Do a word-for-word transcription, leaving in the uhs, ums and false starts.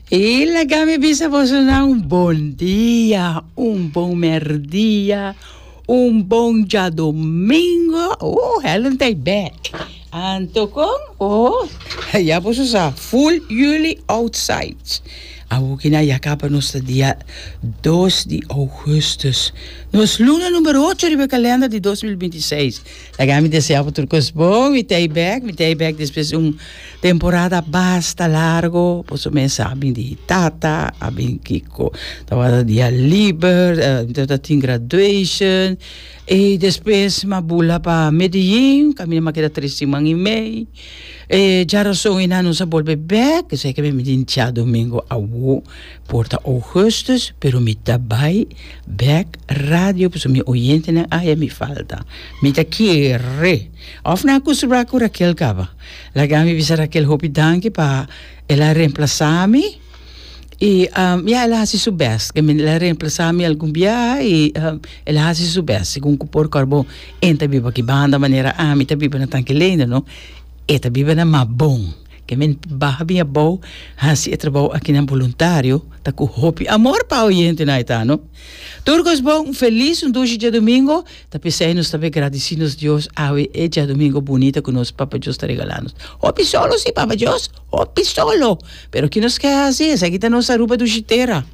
I laga mi bisa boso un bon dia, un bon merdia, un bon djadumingu. Oh, Helen ta back. Anto kon, oh, ya boso sa, full juli outside. Awor ku ya kaba nos dia dos di ougùstùs. Nos luna number ocho di kalènder di dos mil bintiseis. Laga mi deseá tur kos bon, mi ta back, mi ta back despues un temporada basta largu, boso mes sabi di tata, a bin kiko, tabata dia liber, uh, tin graduation, i despues m'a bula pa Medellín, kaminda m'a keda tres siman i mei. E djarason i nos a bolbe back, sei ku mi tin djadumingu awo, por ta ougùstùs, pero mi ta bai back radio, pasobra mi oyentenan a mi falta. Mi ta kere. Òf nan a kustumbrá ku Raquel kaba. Laga mi bisa Raquel hopi danki pa el a remplasá mi. I um, ja, el a hasi su best. Ku el a remplasá mi algun biaha i um, el a hasi su best. Segun ku por karbo e ta biba aki banda manera ami ta biba na Tanki Leendert, no? E ta biba na Mabon. Ke men baha bin abou, hasi e trabou aki na voluntario, ta ku hopi amor pa oyentenan ta, no? Tur kos bon, felis un dushi djadumingu, ta p'esei nos tambe gradisí nos Dios awe e djadumingu bunita ku nos Papa Dios ta regalando. Hopi solo si Papa Dios, hopi solo. Pero ku nos ke hasi, esaki ta nos Aruba dushi tera.